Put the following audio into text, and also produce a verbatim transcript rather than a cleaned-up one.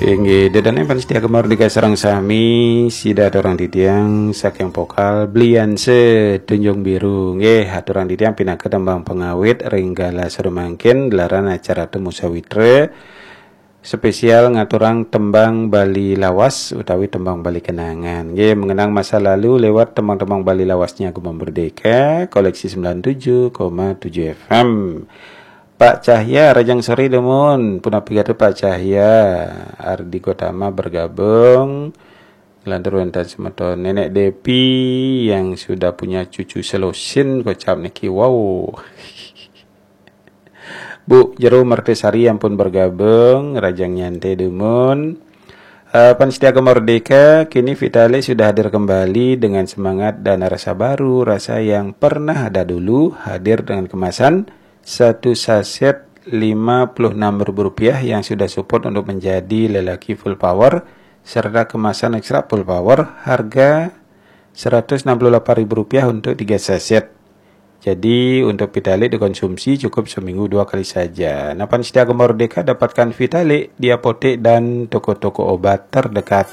Inggih, dedane pan setia gemar di sareng sami, sida aturang titiang saking vokal Blianse Tunjung Biru. Nggih, aturang titiang pinaka tembang pengawit ring galah sumangkin gelaran acara Temu Sawitra spesial ngaturang tembang Bali lawas utawi tembang Bali kenangan. Nggih, mengenang masa lalu lewat tembang-tembang Bali lawasnya Gema Merdeka, koleksi sembilan tujuh koma tujuh F M. Pak Cahya, rahajeng sore dumun. Punapi gatra Pak Cahya? Ardi Gotama bergabung. Lantur wenten semeton Nenek Depi yang sudah punya cucu selosin kocap niki. Wow. Bu Jero Mertesari ampun bergabung, rahajeng nyantai dumun. Eh, pan setia Gema Merdeka, kini Vitalik sudah hadir kembali dengan semangat dan rasa baru, rasa yang pernah ada dulu, hadir dengan kemasan satu saset lima puluh enam ribu rupiah yang sudah support untuk menjadi lelaki full power, serta kemasan ekstra full power harga seratus enam puluh delapan ribu rupiah untuk tiga saset. Jadi, untuk Vitalik dikonsumsi cukup seminggu dua kali saja. Nah, pan setia Gema Merdeka, dapatkan Vitalik di apotek dan toko-toko obat terdekat.